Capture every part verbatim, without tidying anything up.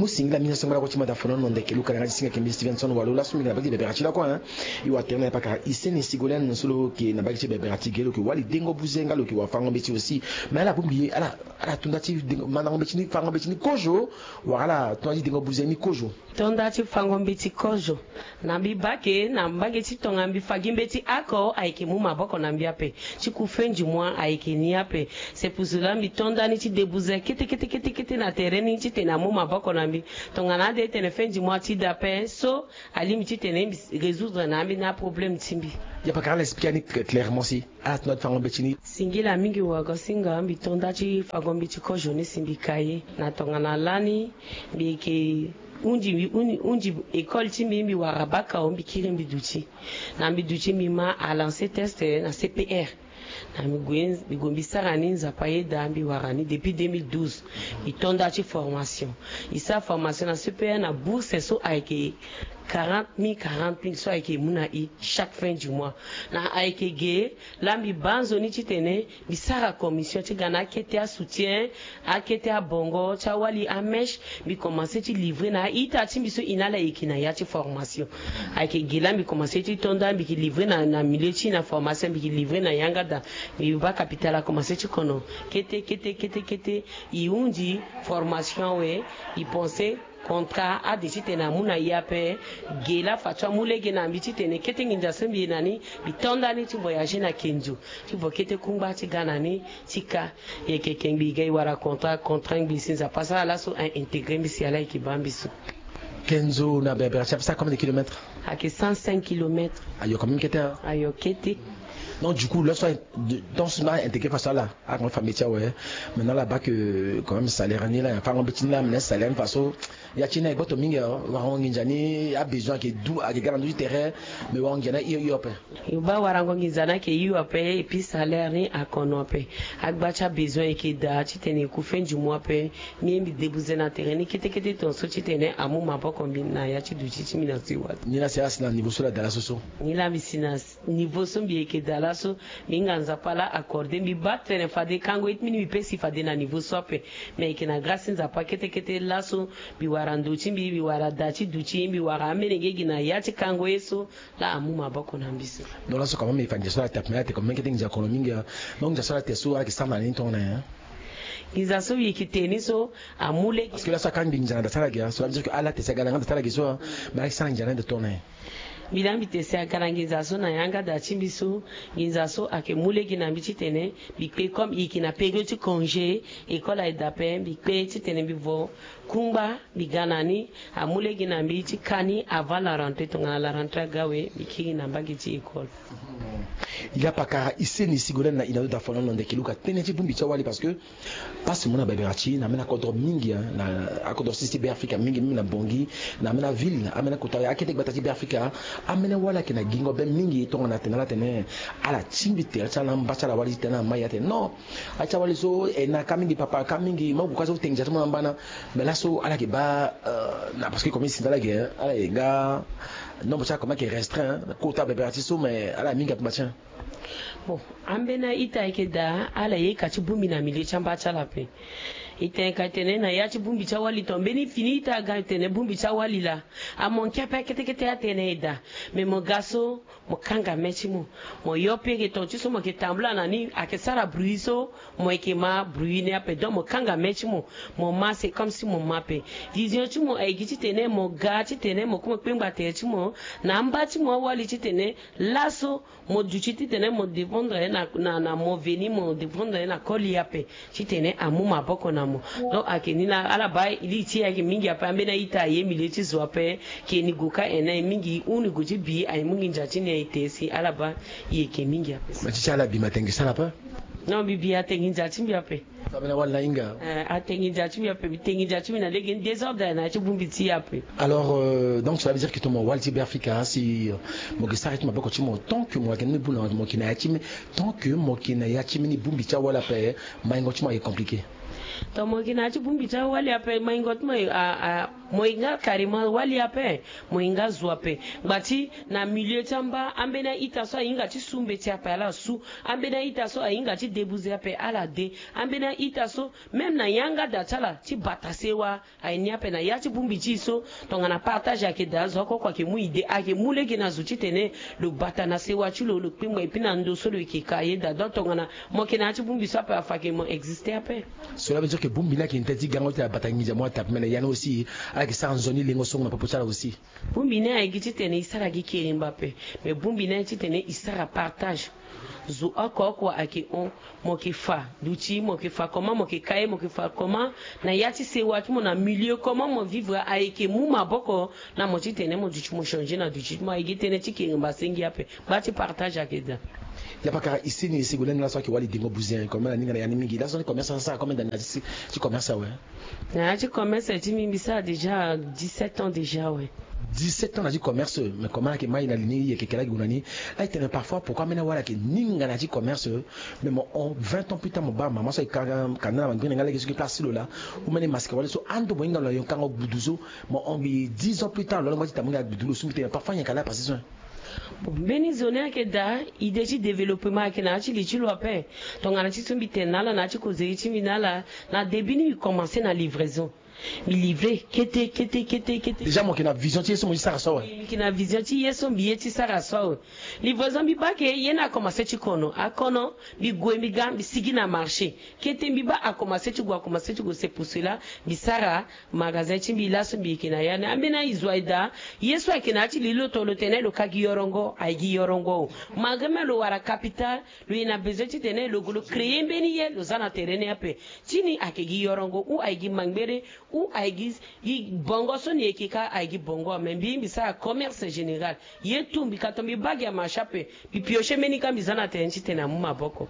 Singila mingi so ngba lakue ti mada fono na ndeke luka na nga ti singa kembe Stevenson Walo laso mingi na baki ti bebera ti lakue, hein. I wa tere na ya pakara Iseni Sigolène so lo yeke na baki ti bebera ti ge lo yeke wali dengo buze nga lo yeke wa fango mbeti aussi. Mais ala bongbi ye ala ala to nda ti dengo mandango mbeti ni fango mbeti ni kozo. Wala ala to nda ti dengo buze ni kozo. To nda ti fango mbeti kozo. Na mbi bake na mbage ti tongana mbi fa gi mbeti oko ayeke mu maboko na mbi ape. Ti ku fin du mois ayeke ni ape. C'est pour cela mbi to nda ni ti debuze kete kete kete kete na tere ni titene amu maboko na mbi. Tongana ade tene fin du mois ti da ape so alingbi titene mbi résoudre na ambeni aproblème ti mbi. Ya pakara ala expliquer ni clairement si ala to nda ti fango mbeti ni. Singila mingi wagosinga mbi to nda ti fango mbeti kozo ni si mbi ka ye na tongana lani. Mbi yeke hundi mbi hundi hundi école ti mbi mbi wara baka o mbi kiri mbi duti. Na mbi duti mbi ma a lancer test na C P R. Na mbi gue mbi gue mbi sara ni Nzapa ayeda mbi wara ni depuis deux mille douze. Mbi to nda ti formation. Mbi sara formation na C P R na bourse so ayeke quarante mille quarante mille so ayeke mu na i chaque fin du mois. Na ayeke ge laa mbi baa nzoni titene mbi sara commission ti ga na akete asoutien, akete abongo ti awali amèche. Mbi commencer ti livrer na a-ita ti mbi so i na ala yeke na ya ti formation. Ayeke ge laa mbi commencer ti to nda mbi yeke livrer na na milieu ti na formation mbi yeke livrer na yanga daa. Mbi baa capital akomencer ti kono kete kete kete kete. I hundi formation awe. I pense contrat ade titene amu na i ape. Ge laa fa ti amu lege na mbi titene kete nginza so mbi ye na ni mbi to nda ni ti voyager na kenzo ti vo kete kungba ti ga na ni ti ka. Yeke kengbi i ga i wara contrat contrat ngbi si Nzapa asara laso a intégrer mbi si ala yeke baa mbi so. Kenzo na berbera ti ape sara combien de kilomètres? Ayeke cent cinq kilomètres. Ayo quand même kete. Ayo kete. Donc du coup laso donc so na intégrer faso ala. Akomi famille ti awe. Maintenant ala baa que quand même salaire ni laa afango mbeti ni laa mene salaire ni faso. Ya ti ni aye gboto mingi. Warango nginza ni abesoin ayeke du ayeke ga na ndö ti terrain. Mais warango nginza ni aye hio ape. Yo baa warango nginza ni ayeke hio ape. Et puis salaire ni akono ape. Agba ti abesoin ayeke daa titene e ku fin du mois ape. Mbi ye mbi debuze na terrain ni kete kete tongaso titene amu maboko mbi na ya ti duti ti mbi na siwa. Ni laa si ala si na niveau so laa daa laso so. Ni laa mbi si na niveau so mbi yeke daa laso. Mbi hinga Nzapa laa accordé mbi baa tene fade kango ye ti mbi ni mbi pe si fade na niveau so ape. Mais ayeke na grâce ti Nzapa kete kete laso. Mbi wara ndo ti mbi mbi wara daa ti duti mbi wara amene nge gi na ya ti kango ye so. Laa amu maboko na mbi so. Donc laso quand même e fa nginza so ala te ape mais ala te quand même kete nginza kono mingi. Donc nginza so ala te so ala yeke sara na ni tongana nyen? Nginza so mbi yeke te ni so amu lege. Parce que laso aka mbi nginza na da ti ala ge so la veut dire que ala te si aga na nga da ti ala ge so. Mais ala yeke sara nginza na ni da tongana nyen? Mbi laa mbi te si aga na nginza so na yanga da ti mbi so. Nginza so ayeke mu lege na mbi titene mbi kpe comme e yeke na période ti congé. École aye da ape mbi kpe titene mbi vo kungba mbi ga na ni. Amu lege na mbi ti ka ni avant la rentrée tongana la rentrée aga awe mbi kiri na mbage ti école. Il y a pakara Iseni Sigolène na ina ndo da fono na ndeke luka tënë ti bongbi ti awali parce que pasi mo na bebera ti na ambeni akodro mingi na akodro sisi ti Beafrika mingi mingi na Bangui. Na ambeni aville ambeni akota akete gbata ti Beafrika. Ambeni awali ayeke na gingo be mingi tongana atene ala tene ala tingbi tere ti ala mba ti ala wali ti tene na mai atene non. Aye ti awali so e na ka mingi papa ka mingi mo gue ka so tengi ndia ti mo na mbana. Mais laso ala yeke baa na parce que comme e si nda ala yeke ala yeke nga nombre ti ala comme ayeke restreint kota bebera ti so mais ala mingi ape mba ti. Bon, ambeni a-ita ayeke daa ala ye ka ti bongbi na milieu ti amba ti ala ape. E tene ka e tene na ya ti bongbi ti awali to mbeni fini ita aga e tene bongbi ti awali laa. Amanke ape akete kete atene e daa. Mais mo ga so mo kanga me ti mo. Mo yo pe eke tonga ti so mo yeke tambula na ni ayeke sara bruit so. Mo yeke ma bruit ni ape donc mo kanga me ti mo. Mo ma c'est comme si mo ma ape. Vision ti mo ayeke titene mo ga titene mo kue mo kpengba tere ti mo na amba ti mo awali titene laso mo duti titene mo dépendre na na na mo veni mo dépendre na koli ape. Titene amu maboko na mo. Donc ayeke ni na ala baa li ti e ayeke mingi ape ambeni a-ita aye milieu ti zo ape. Ke ni gue ka en na e mingi huni gue ti bi aye mu nginza ti ni aye te si ala baa. E yeke mingi ape. Ma ti ti ala bi ma tengi sara ape. Non mbi bi atengi nza ti mbi ape. Ambeni awali na hinga. Eh, atengi nza ti mbi ape mbi tengi nza ti mbi na lege ni désordre na ya ti bongbi ti e ape. Alors euh, donc cela veut dire que tongana mo wali ti Beafrika si euh, mo yeke sara ti maboko ti mo tant que mo yeke ni bula mo yeke na ya ti mbi tant que mo yeke na ya ti mbi ni bongbi ti awali ape. Maingo ti mo ayeke compliqué. Donc mo yeke na ya ti bongbi ti awali ape maingo ti mo a a mo hinga carrément wali ape. Mo hinga zo ape ngba ti na milieu ti amba ambeni a-ita so ahinga ti su mbeti ape ala su. Ambeni a-ita so ahinga ti debuze ape ala de. Ambeni Ita so, même na yanga da ti ala ti bata sewa, aye ni ape na ya ti bongbi ti e so. Tongana partage ayeke daa, zo oko oko ayeke mu idée, ayeke mu lege na zo titene lo bata na sewa ti lo, lo kpingba, et puis na ndo so lo yeke ka ye daa. Donc tongana mo yeke na ya ti bongbi so ape, afa ayeke mo existe ape. Cela veut dire que bongbi ni ayeke na tënë ti gango ti abata nginza mo ata ape, mais na ya ni aussi ala yeke sara nzoni lengo songo na popo ti ala aussi. Bongbi ni aye gi titene e sara gi kerimba ape, mais bongbi ni aye titene e sara partage. Zo oko oko ayeke hon, mo yeke fa duti, mo yeke fa comment, mo yeke ka ye, mo yeke fa comment na ya ti sewa ti mo, na milieu comment mo vivre, ayeke mu maboko na mo titene mo duti, mo changer na duti ti mo. Aye gi tënë ti kerimba asengbi ape. Gba ti partage ayeke daa. Ya pakara, e seni e sego lani laso ayeke wali dengo buze, comme na ningana ya ni mingi. Laso ni commerce asara combien d'années na ya ti, ti commerce awe? Na ya ti commerce ti mbi, mbi sara déjà dix-sept ans déjà, ouais. Dix-sept ans na ya ti commerce, mais comment ayeke mai na li ni, e yeke kela gi gue na ni? Ala tene parfois pourquoi ambeni awali ayeke ningana ya ti commerce, mais mo hon vingt ans plus tard mo baa mama so ayeke ka, ka na mangbene nga lege so gi place ti lo laa. Ou mbeni masika wali so ando mo hinga lo na yo kango gbudu so, mo hon gi dix ans plus tard lo longba ti tambu nga gbudu lo sumbi tene parfois nyen ka laa passé so. Bon, mbeni zo ni ayeke daa, idée ti développement ayeke na ya ti li ti lo ape. Tongana ti so mbi tene na ala na ya ti kozeri ti mbi na ala, na début ni mbi commencé na livraison. Mbi livrer kete kete kete kete. Déjà mo yeke na vision ti ye so mo ye ti sara so awe. Mbi yeke na vision ti ye so mbi ye ti sara so awe. Livraison mbi baa ke ye ni akomanse ti kono, akono, mbi gue mbi ga mbi sigi na marché. Kete mbi baa akomanse ti gue, akomanse ti gue, c'est pour cela mbi sara magasin ti mbi laso mbi yeke na ya ni. Ambeni aye zo aye daa, ye so ayeke na ya ti li lo to lo tene lo ka gi yorongo, aye gi yorongo. Malgré même lo wara capital, lo yeke na besoin titene lo gue lo créer mbeni ye lo za na tere ni ape. Ti ni ayeke gi yorongo ou aye gi mangbere ou aye gi, gi bongo so ni yeke ka aye gi bongo. Mais mbi, mbi sara commerce général. Ye tout mbi ka to mbi baa gi amarché ape. Mbi piocher mbeni ka mbi za na tere ni titene amu maboko.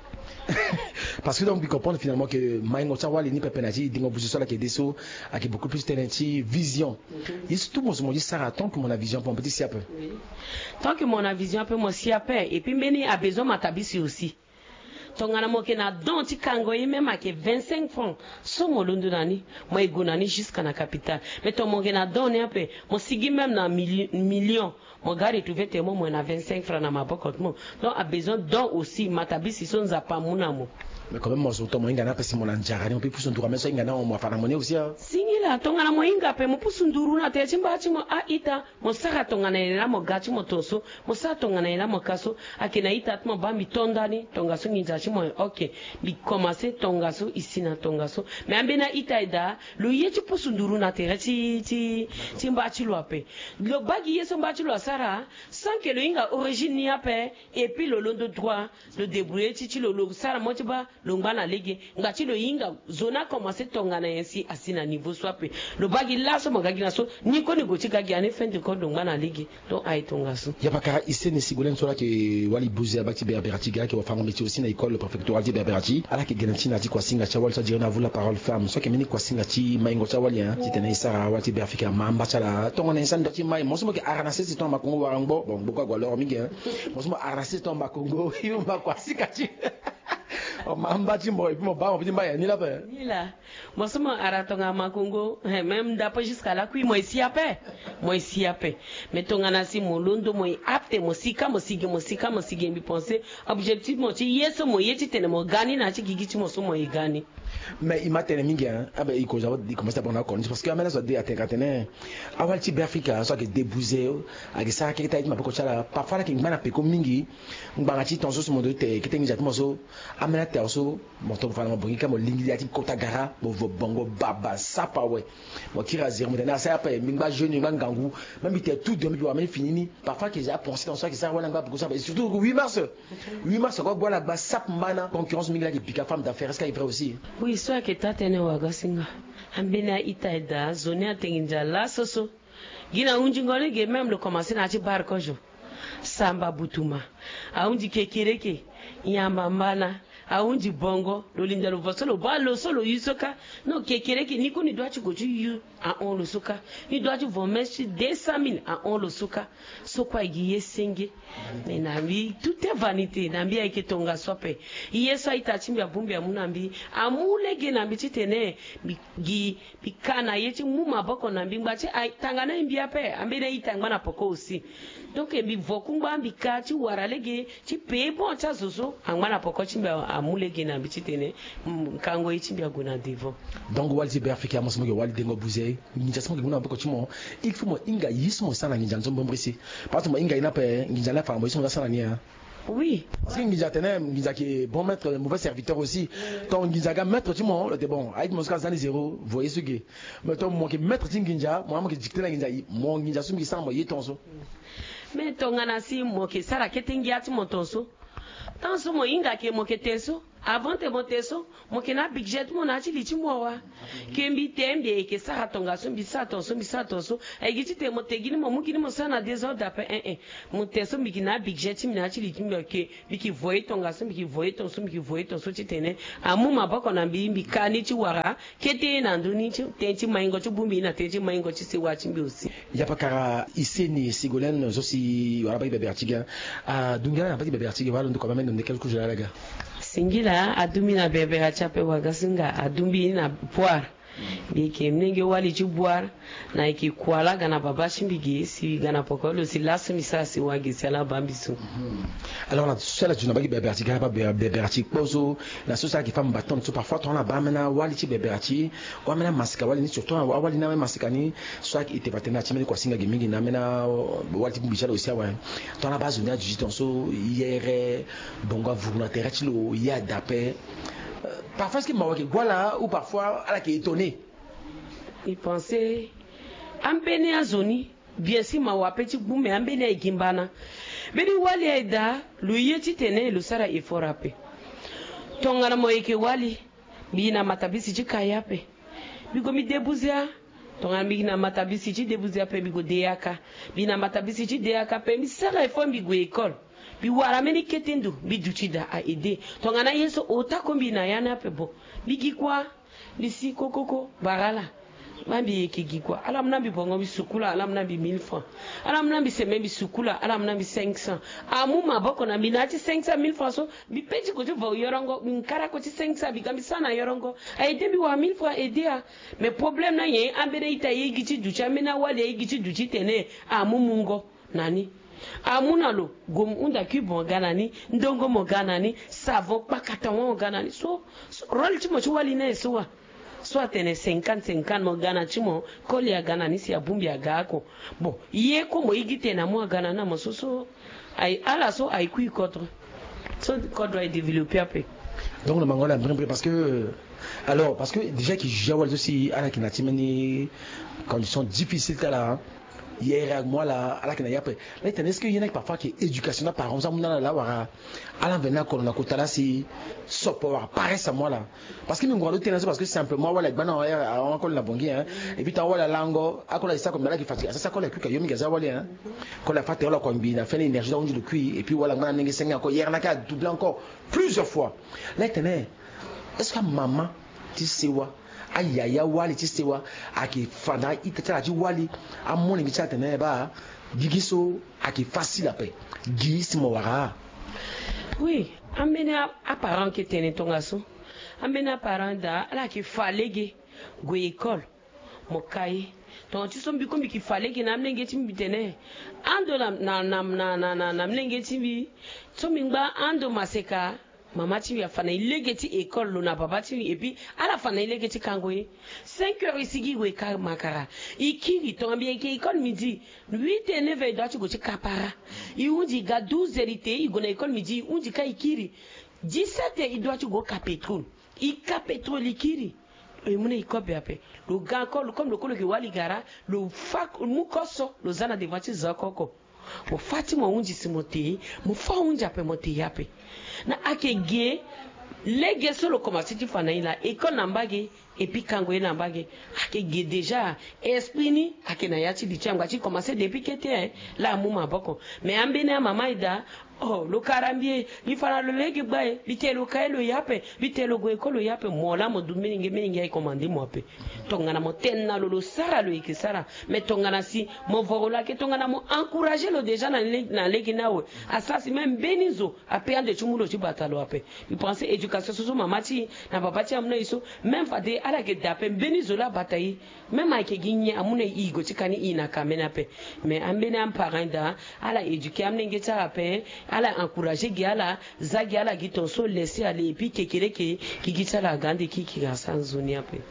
Parce que donc mbi comprendre finalement que maingo ti awali ni pepe na ti dingo buzu so ala yeke de so ayeke beaucoup plus tënë ti vision. Ye so tout mo zo mo ye ti sara tant que mo na vision ape mo peut ti si ape. Tant que mo na vision ape mo si ape. Et puis mbeni abesoin matabisi aussi. Tongana mo yeke na don ti kango ye même ayeke vingt-cinq francs so mo londo na ni, mo ye gue na ni jusqu'à na capital. Mais tongana mo yeke na don ni ape, mo sigi même na mili-, million, mo ga retrouver tene mo, mo na vingt-cinq francs na maboko ti mo. Donc abesoin don aussi, matabisi so Nzapa amu na mo. Mais quand même mo zo tongana mo hinga ni ape si mo na nzara ni mo peut pusu nduru amen so ahinga ni awe mo afa na mo ni aussi ah. Singila, tongana mo hinga ape mo pusu nduru na tere ti mba ti mo a-ita. Mo sara tongana nyen laa mo ga ti mo tongaso, mo sara tongana nyen laa mo ka so. Ayeke na ita ti mo baa mbi to ndani tongaso nginza ti mo, ok. Mbi komanse tongaso, e si na tongaso. Mais ambeni a-ita aye daa, lo ye ti pusu nduru na tere ti, ti, ti mba ti lo ape. Lo baa gi ye so mba ti lo asara, sans que lo hinga origine ni ape, et puis lo londo droit, lo débrouiller ti, ti lo, lo sara mo ti baa, lo ngba na lege, ngba ti lo hinga zo ni akomanse tongana nyen si asi na niveau so ape. Lo baa gi laso mo ga gi na so, ni koni gue ti ga gi ani fin de compte lo ngba na lege. Donc aye tongaso. Ya pakara, e seni Sigolène so ala yeke wali buze abaa ti Berbera ti ga ayeke wafango-mbeti aussi na école préfectorale ti Berbera ti. Ala yeke gene ti na ya ti kuasinga ti awali so a dire na vous la parole femme so ayeke mbeni kuasinga ti maingo ti awali hein, titene e sara awali ti Beafrika ama amba ti ala tongana nyen si ando ti mai. Mo so mo yeke ara na sese tongana makongo wara ngbo, bon ngbo kue ague alors mingi hein. Mo so mo ara na sese tongana makongo, i ma kuasinga ti. O ma amba ti mo, et puis mo baa mo pe ti mba ya ni la ape. Ni la. Mo so mo ara tongana makongo, eh, même ndapo jusqu'à lakui mo ye si ape. Mo ye si ape. Mais tongana si mo londo mo ye apte, mo sika mo sigi, mo sika mo sigi, mbi pense objectif mo ti ye so mo ye titene mo ga ni na ya ti gigi ti mo so mo ye ga ni. Mais i ma tene mingi hein. Ah ben, i koza, i commence d'abord na oko ni parce que amena so ade atene ka tene awali ti Beafrika so ayeke débouze, ayeke sara keke ti aye ti maboko ti ala. Parfois ala yeke ngba na peko mingi. Ngbanga ti tongaso so mo doit ti te kete nginza ti mo so, ambeni atere so mo tongana mo bongi ka mo lingbi ya ti kota gara mo vo bongo baba sapa awe. Mo kiri azere mo tene asara ape, mbi ngba jeune, mbi ngba ngangu. Même mbi tene tout de, mbi wara mbeni fini ni. Parfois ayeke za apensé tongaso ayeke sara wala ngba peko sapa, et surtout huit mars. Huit mars kue ague ala gba sapa mbana, concurrence mingi la ayeke pika femme d'affaires, est-ce que ayeke vrai aussi? Oui, so ayeke taa tënë waga singa. Ambeni a-ita aye daa, zo ni ate nginza laso so. Gi na hundingo lege même lo komanse na ya ti bar kozo. Samba butuma, ahunzi kekereke, nyamba mbana, ahunzi bongo, lo linda lo vo so lo baa lo so lo yu so kâ. Non, kekereke ni kue ni doit ti gue ti yu ahon lo so kâ. Ni doit ti vo mèche ti deux cent mille ahon lo so kâ. So kue aye gi ye senge. Mais na mbi tout est vanité, na mbi ayeke tongaso ape. Ye so a-ita ti mbi abongbi amu na mbi, amu lege na mbi titene mbi gi mbi ka na ye ti mu maboko na mbi ngba ti aye tanga na ye mbi ape, ambeni a-ita angba na peko aussi. Donc mbi vo kungba, mbi ka ti wara lege ti pee bon ti azo so angba na poko ti mbi amu lege na mbi titene kango ye ti mbi ague na devant. Donc wali ti Beafrika amu so mo yeke wali dengo buze, nginza so mo yeke mu na maboko ti mo, il faut mo hinga ye so mo sara na nginza nzoni bongbi si. Parce que mo hinga ye ni ape, nginza ni afa na mo ye so mo za sara na ni. Oui. Parce que nginza atene nginza ayeke bon maître, mauvais serviteur aussi. Donc nginza aga maître ti mo, lo tene bon, aye ti mo so ka za ni zéro, voye so ge. Mais tongana mo yeke maître ti nginza, mo na mo yeke dicter na nginza, mo nginza so mbi sara mo ye tongaso. Mais tongana si mo yeke sara kete ngia ti mo tongaso, tant so mo hinga ke mo yeke te so, avant te mo te so, mo yeke na budget ti mo na ya ti li ti mo awa. Ke mbi te mbi yeke sara tongaso, mbi sara tongaso, mbi sara tongaso. Aye gi titene mo te gi ni, mo mu gi ni mo sara na désordre ape, eh eh. Mo te so mbi yeke na budget ti mbi na ya ti li ti mbi, ok. Mbi yeke voye tongaso, mbi yeke voye tongaso, mbi yeke voye tongaso titene amu maboko na mbi, mbi ka ni ti wara kete na ndö ni ti tënë ti maingo ti bongbi na tënë ti maingo ti sewa ti mbi aussi. Yapakara Iseni Ségolène zo si wala baki bebera ti ga. Adungi ala na baki bebera ti ga wala ndo koma mendo nde quelque chose ala ga. Singila adumbi na bebera ti ape wagasinga adumbi na poire. Mbi yeke mlenge wali ti boire, na yeke kua laa ga na babâ ti mbi ge si ga na poko lo si laso mbi sara si wage si ala bâ mbi so. Alors na so ala zo na baki bebera ti ga, bâ bebera ti kpo so, na so si ala yeke fa mbaton so parfois tongana ala bâ ambeni awali ti bebera ti, ou ambeni amasika wali ni, surtout awali ni ambeni amasika ni, so ala yeke ete fa tene na ti mbeni kua singa ge mingi na ambeni awali ti bongbi ti ala aussi awe. Tongana ala bâ azo ni aduti tongaso, yere bongo avuru na tere ti lo, ye ada ape. Parfois est-ce que mawa yeke gue ala ou parfois ala yeke étonné? Mbi pense ambeni azo ni, bien si mawa ape ti gbu, me ambeni aye gi mbana. Mbeni wali aye daa, lo ye titene lo sara effort ape. Tongana mo yeke wali, mbi na matabisi ti ka ye ape. Mbi gue mbi débouze a. Tongana mbi na matabisi ti débouze ape, mbi gue de yaka. Mbi na matabisi ti de yaka ape, mbi sara effort mbi gue école. Mbi wara mbeni kete ndo, mbi duti daa a aidé. Tongana ye so ota ko mbi na ya ni ape bon. Mbi gi kua, mbi si kokoko, bara ala. Bâ mbi yeke gi kua. Ala mu na mbi bongo mbi sukula, ala mu na mbi mille francs. Ala mu na mbi sembe mbi sukula, ala mu na mbi cinq cents. Amu maboko na mbi na ya ti cinq cent mille francs so, mbi pe ti gue ti vo yorongo, mbi nkara ko ti cinq cents, mbi ga mbi sara na yorongo. A aidé mbi wara mille francs aidé a. Mais problème ni aye, ambeni a-ita aye gi ti duti, ambeni awali aye gi ti duti tene amu mungo na ni. Amu na lo, gue mo hunda cube mo ga na ni, ndongo mo ga na ni, savon kpakata wa mo ga na ni. So, so rôle ti mo ti wali ni aye so wa. So atene cinquante cinquante mo ga na ti mo, koli aga na ni si abongbi aga oko. Bon, ye ko mo ye gi tene amu aga na ni na mo so, so aye, ala so aye kui kodro. So kodro aye développé ape. Donc na mango ala mbrimbri parce que, alors, parce que déjà yeke juge awali so si ala yeke na ti mbeni condition difficile ti ala. Yere amu ala, ala yeke na ye ape. Laa e tene est-ce que ye ni ayeke parfois ayeke éducation na parent so amu na ala laa wala ala mveni na kodro na kota laa si sopo wala paresse amu ala? Parce que mbi ngua lo ti tene so parce que simplement awali agba na ahon akoli na Bangui, hein. Et puis tongana awali alango akoli aye sara comme na ala yeke fatigué, asara si akoli akui ka yo mingi aza awali, hein. Koli afa tere lo akua ngbii na fini énergie ti ahunzi lo kui, et puis wali angba na molenge senge encore, yere ni ayeke adoublé encore plusieurs fois. Laa e tene est-ce que amama ti sewa, ayaya wali ti sewa ayeke fa na a-ita ti ala ti wali, amolenge ti ala atene baa gigi so ayeke facile ape, gi si mo wara? Oui, ambeni a-, aparent ayeke tene tongaso. Ambeni aparent daa ala yeke fa lege gue école, mo ka ye. Tonga ti so mbi ko mbi yeke fa lege na amolenge ti mbi tene ando na, na, na, na, na, na, na molenge ti mbi so mbi ngba ando maseka. Mama ti mbi afa na e lege ti école, lo na baba ti mbi, et puis ala fa na e lege ti kango ye. Cinq heures e sigi e gue ka makara. E kiri, tongana mbi yeke école midi, huit et neuf heures e dua ti gue ti ka para. E hunzi e ga douze heures e te, e gue na école midi, e hunzi ka e kiri. Dix-sept heures e dua ti gue ka pétrole. E ka pétrole e kiri. E mu na e kobe ape. Lo ga encore, comme lo ko lo yeke wali gara, lo fa, mu koso, lo za na devant ti zo oko oko. Mo fa ti mo hunzi si mo te, mo fa hunzi ape mo te ye ape. Na ayeke ge lege so lo komanse ti fa na e laa, école na mbage, et puis kango ye na mbage. Ayeke ge déjà, esprit ni ayeke na ya ti li ti angba ti komanse depuis kete, hein, laa amu maboko. Mais ambeni amama e daa, oh, lo kara mbi e, mbi fa na lo lege gba e, mbi te lo ka ye lo ye ape, mbi te lo gue école lo ye ape, mo laa mo du mingi mingi aye commandé mo ape. Tongana mo tene na lo, lo sara lo yeke sara. Mais tongana si mo voro lo ayeke tongana mo encouragé lo déjà na le-, na lege ni awe. Asara si même mbeni zo ape ande ti mu lo ti bata lo ape. Mbi pense éducation éducation so so mama ti e na papa ti e amu na e so. Même fade ala yeke daa ape, mbeni zo laa abata e. Même ayeke gi nyen amu na e, e gue ti ka ni, e na ka ambeni ape. Mais ambeni aparent daa, ala éduquer amolenge ti ala ape, ala encourager gi ala, za gi ala gi tongaso, laisser aller, et puis kekereke, gigi ti ala aga ande kiki, asara nzoni ape.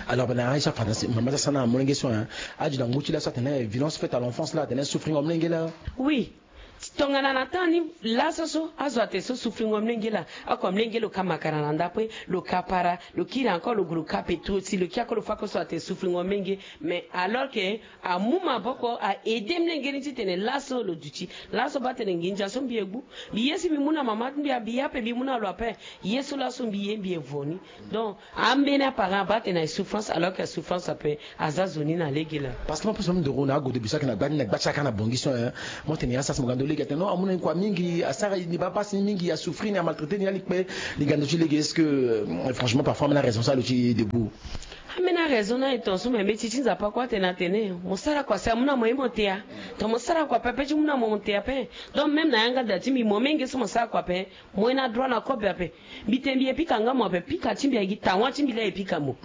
Alors, ben, na Aïcha Fana, mama ti asara na amolenge so, hein. Adu na ngu ti laso atene violence faite à l'enfance laa, atene souffrir amolenge laa. Oui. Tongana na temps ni laso so, azo atene so souffrir amolenge laa. Oko amolenge lo ka makara na ndapue, lo ka para, lo kiri encore lo gue lo ka petrol ti lo kiri oko, lo fa oko so atene souffrir amolenge. Mais alors que amu maboko a aider amolenge ni titene laso lo duti. Laso baa atene nginza so mbi ye gbu. Mbi ye si mbi mu na mama ti mbi, mbi ye ape, mbi mu na lo ape. Ye so laso mbi ye, mbi ye vo ni. Donc, ambeni aparent abaa atene na e souffrance, alors que asouffrance ape aza zo ni na lege laa. Parce que mo poso mo ndoro na agodo biso ayeke na gba ni, na gba ti aka na Bangui so, hein. Mo tene ya sara si mo ga ndo lege, atene non, amu na ni kua mingi, asara ni baa pasi ni mingi, asouffrir ni, amaltraiter ni, alikpe. Ni ga ndo ti lege, est-ce que, euh, franchement, parfois ambeni araison so alo ti debout? Ambeni araison na e tongaso, mais mbeti ti Nzapa kue atene, atene mo sara kua si amu na mo ye mo te ya. Donc mo sara kua pepe ti mu na mo mo te ya ape. Donc même na yanga da ti mbi, mo menge so mo sara kua ape, mo ye na droit na kobe ape. Mbi tene mbi ye pika nga mo ape, pika ti mbi ayeke gi tawa ti mbi laa e pika mo.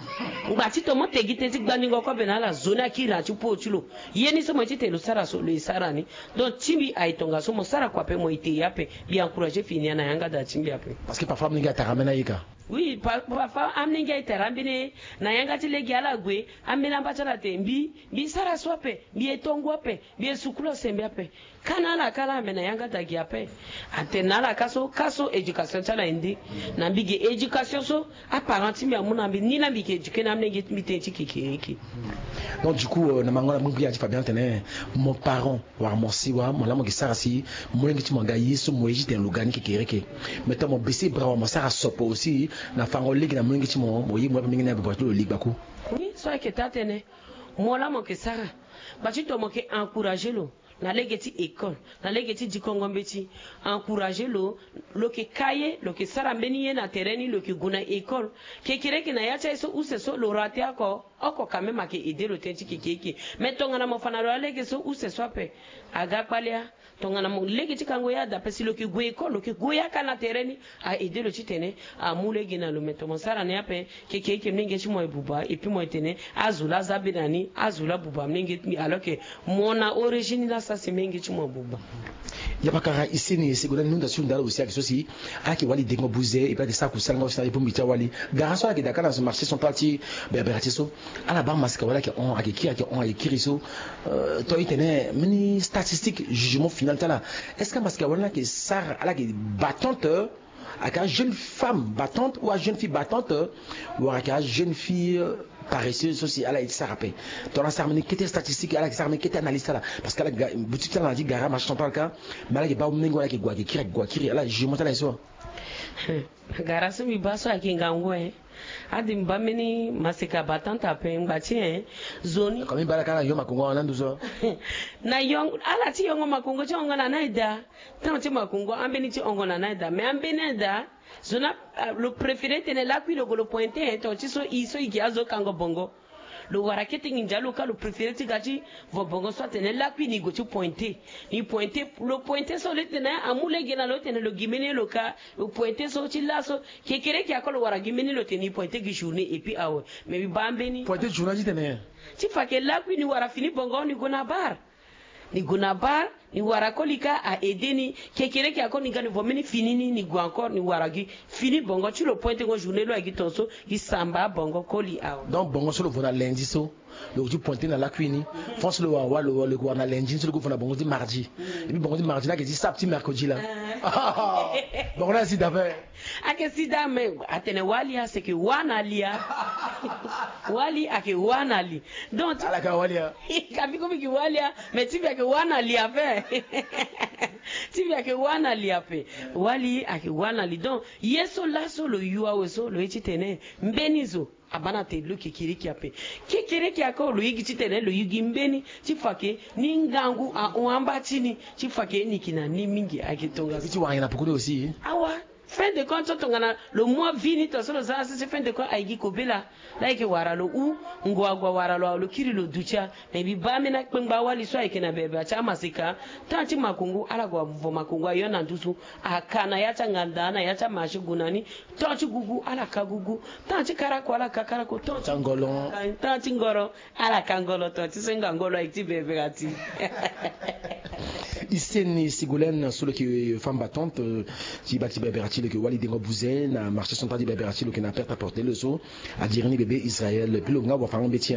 Ngba ti to mo te gi tënë ti gbandingo kobe na ala, zo ni akiri na ya ti po ti lo. Ye ni so mo ye titene lo sara so, lo ye sara ni. Donc ti mbi aye tongaso, mo sara kua ape, mo ye te ya ape. Mbi encourager fini ya na yanga da ti mbi ape. Parce que parfois amolenge atara ambeni aye ka. Oui, pa- parfois amolenge atara ambeni aye. Na yanga ti lege ala gue, ambeni amba ti ala atene mbi, mbi sara so ape, mbi ye tongo ape, mbi ye sukulu asembe ape. Ka na ala ka laa, me na yanga da gi ape. Atene na ala ka so, ka so éducation ti ala aye nde. Na mbi ge éducation so aparent ti mbi amu na mbi, ni laa mbi yeke éduquer na amolenge ti mbi tënë ti kekereke. Donc du coup, euh, na mango na mbi ngbia ti Fabien atene, mon parent wala mo si wa mo laa mo yeke sara si molenge ti mo aga ye so mo ye titene lo ga ni kekereke. Mais tongana mo baisser bras wa mo sara sopo aussi na fango lege na molenge ti mo, mo ye mo ape mingi na buba ti lo li gbaku. Oui, so ayeke taa tënë. Mo laa mo yeke sara. Ngba ti tongana mo yeke encourager lo na lege ti école, na lege ti dikongo mbeti, encourager lo, lo yeke ka ye, lo yeke sara mbeni ye na tere ni, lo yeke gue na école. Kekereke na ya ti aye so use so lo rater oko, oko quand même ayeke aider lo tënë ti kekereke. Mais tongana mo fa na lo alege so use so ape, aga kpale ya. Tongana mo lege ti kango ye ada ape, si lo yeke gue école, lo yeke gue ye aka na tere ni, a aider lo titene amu lege na lo. Mais tongana mo sara ni ape, kekereke molenge ti mo aye buba, et puis mo ye tene azo laa aza be na ni, azo laa abuba molenge ti mbi, alors que mo na origine laa asara si molenge ti mo abuba. Ya bakara ise ni, ese gue na ni hunda ti hunda ala aussi ayeke so si ala yeke wali dengo buze, et puis ala yeke sara kusala nga aussi na ye bongbi ti awali. Gara so ala yeke daa ka na marché central ti Berberatie so, ala baa masika wali ayeke hon, ayeke kiri, ayeke hon, ayeke kiri so. Euh, to e tene mbeni statistique, jugement final ti ala. Est-ce que masika wali ni ayeke sara, ala yeke battante, euh, ayeke ajeune femme battante ou ajeune fille battante, euh, wala ayeke ajeune fille, euh, paresseuse so si ala ye ti sara ape? Tongana asara mbeni kete statistique, ala yeke sara mbeni kete analyse ti ala. Parce que ala ga- boutique ti ala na ya ti gara marché central ka, mais ala yeke baa molenge wala ayeke gue ayeke kiri, ayeke gue kiri, ala jugement ti ala aye so. Gara so mbi baa so ayeke ngangu, eh. Ade mbi baa mbeni masika battante ape, ngba ti, eh, zo ni. Comme mbi baa ala ka na yongo makongo na nduzu. Na yongo, ala ti yongo makongo ti hongo na ni aye daa. Temps ti makongo ambeni ti hongo na ni aye daa. Mais ambeni aye daa, zo ni, ah, lo préféré tene lakui lo gue lo pointé, eh, tonga ti so e so e gi azo kango bongo. Lo wara kete nginza lo ka, lo préféré ti ga ti vo bongo so atene lakui ni gue ti pointé. Ni pointé, lo pointé so lo tene amu lege na lo tene lo gi mbeni lo ka, lo pointé so ti laso. Kekereke ako lo wara gi mbeni lo tene ni pointé gi journée et puis awe. Mais mbi baa mbeni. Pointé journée ti tene? Ti fa ke lakui ni wara fini bongo ni gue na bar. Ni gue na bar, ni wara koli ka a aider ni. Kekereke ako ni ga ni vo mbeni fini ni, ni gue encore, ni wara gi fini bongo ti lo pointé ngo journée lo aye gi tongaso, gi samba bongo koli awe. Donc bongo so lo vo na lundi so, lo ti pointé na lakui ni. Fo so lo wara, lo, lo wara na lundi so lo gue vo na bongo ti mardi. Et puis bongo ti mardi ni ayeke ti saba ti mercredi laa. Bongo ni asi daa ape. Ayeke si daa, mais atene wali a, c'est que wa na li a. Wali ayeke wa na li. Donc ti- Ala ka wali a. Ka mbi ko mbi yeke wali a, mais ti mbi ayeke wa na li ape. Ti mbi ayeke wa na li ape. Wali ayeke wa na li. Donc ye so laso lo yu awe so, lo ye titene mbeni zo abaa na tene lo kekereke ape. Kekereke ako lo ye gi titene lo yu gi mbeni ti fa ke ni ngangu ahon amba ti ni, ti fa ke ni yeke na ni mingi. Ayeke tongaso. Ti wara nyen na pekoni aussi? Awa. Fin de compte so tongana lo mu avini tongaso lo za asi si fin de compte ayeke kobela. Laa ayeke wara lo hu ngua gua wara lo awe lo kiri lo duti a. Me mbi baa ambeni akpengba awali so ayeke na bebea ti amaseka. Temps ti makongo ala gue vo makongo ayo na nduzu. Aka na ya ti anganda na ya ti amaché gu na ni. Temps ti gugu ala ka gugu. Temps ti karako ala ka karako. Temps ti ngolo. Temps ti ngolo. Ala ka ngolo to ti senga ngolo aye ti berbera ti. Iseni Sigolène so lo yeke femme battante ti baa ti berbera ti lo yeke wali dengo buze na marché central ti berbera ti lo yeke na perte à porter lo so. Adiri ni bebe Israël puis lo nga wafango mbeti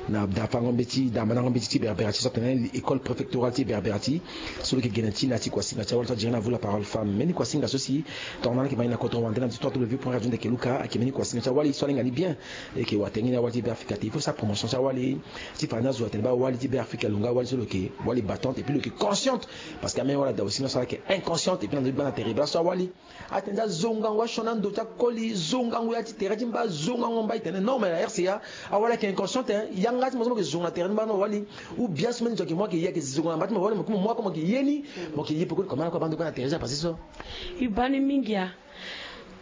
na dafango mbeti damandango mbeti ti berbera ti so atene école préfectorale ti berbera ti so lo yeke gene ti na ti kuasinga ti awali so adiri ni avu la parole femme mbeni kuasinga so si tongana ala yeke ma ni na kodro wande na ti trois w point radio ndeke luka ayeke mbeni kuasinga ti awali so alinga ni bien. Eke watengini awali ti be afrika te il faut sa promotion ti awali. Ti fani azo atene baa awali ti be afrika lo nga awali so lo yeke wali battante et puis lo yeke consciente. Parce que ameni wala da aussi na so ala yeke inconsciente et puis na ndo ti gbanda tere baa so awali atene ti azo ngangu asioni ando ti akoli zo ngangu ya ti tere ti mba zo ngangu mba itene non mais na rca awali ayeke inconsciente. Yanga ti mo so mo yeke zo na tere ti mba na awali ou bien so mbeni zo ayeke mo ayeke ye ayeke zo na mba ti mo awali mo yeke mo mo ako mo yeke ye ni. Mo yeke ye pekoni comment ala kue abaa ndo gbanda tere ti apase so. I baa ni mingi a.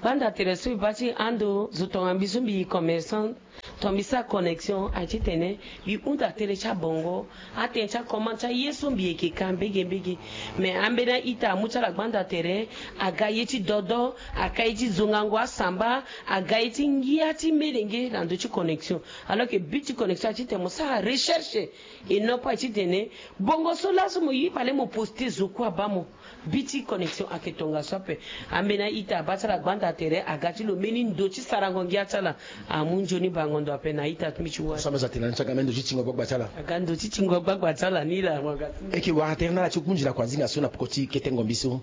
Gbanda tere so i baa ti ando zo tongana mbi so mbi commerçant. Tongana mbi sara connexion aye titene mbi hunda tënë ti abongo atënë ti acommande ti aye so mbi yeke ka mbege mbege. Mais ambeni a-ita amu ti ala gbanda tere aga ye ti dodo aka ye ti zongango asamba aga ye ti ngia ti melenge na ndö ti connexion. Alors que but ti connexion aye titene mo sara recherche et non pas aye titene bongo so laso mo ye fale mo poste zo kue abaa mo. Bi ti connexion ayeke tongaso ape. Ambeni a-ita abaa ti ala gbanda tere aga ti lo mbeni ndo ti sarango ngia ti ala. Amu nzoni bango ndo ape na a-ita ti mbi ti wara so ambe za tena ni so aga mbeni ndo ti tingo gbagba ti ala aga ndo ti tingo gbagba ti ala ni laa mo aga ti eke wara tere na ala ti kunzi lakua nzinga so na poko ti kete ngombi so.